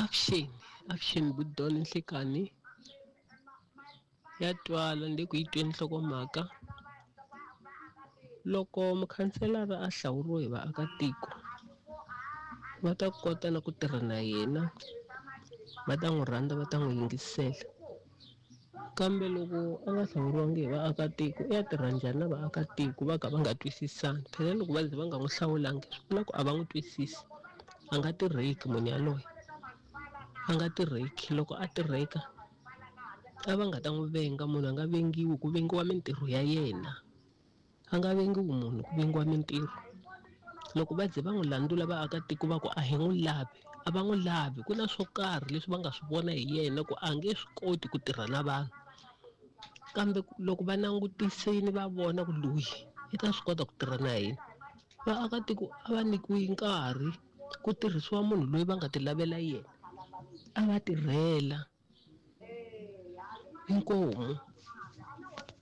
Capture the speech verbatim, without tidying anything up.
Avuxeni, avuxeni Budon Nhlikani ya twala ni le ku yi tweni nhlokomhaka. Loko mukhanselara a hlawuriwe hi vaakatiko va ta kota na ku tirha na yena va ta n'wi rhandza va ta n'wi yingisela kambe loko a nga hlawuriwangi hi vaakatiko i ya tirha njhani na vaakatiko va ka va nga twisisani phela loko va ze va nga n'wi hlawulangi swi vula ku a va n'wi twisisi a nga tirheki munhu yaloye a nga tirheki loko a tirheka a va nga ta n'wi venga munhu a nga vengiwi ku vengiwa mintirho ya yena a nga vengiwi munhu ku vengiwa mintirho loko va ze va n'wi landzula vaakatiko va ku a hi n'wi lavi a va n'wi lavi ku na swo karhi leswi va nga swi vona hi yena ku a nge swi koti ku tirha na vanhu kambe loko va langutisini va vona ku loyi i ta swi kota ku tirha na hina vaakatiko a va nyikiwi nkarhi ku tirhisiwa munhu loyi va nga ti lavela yena a va tirhela inkomu.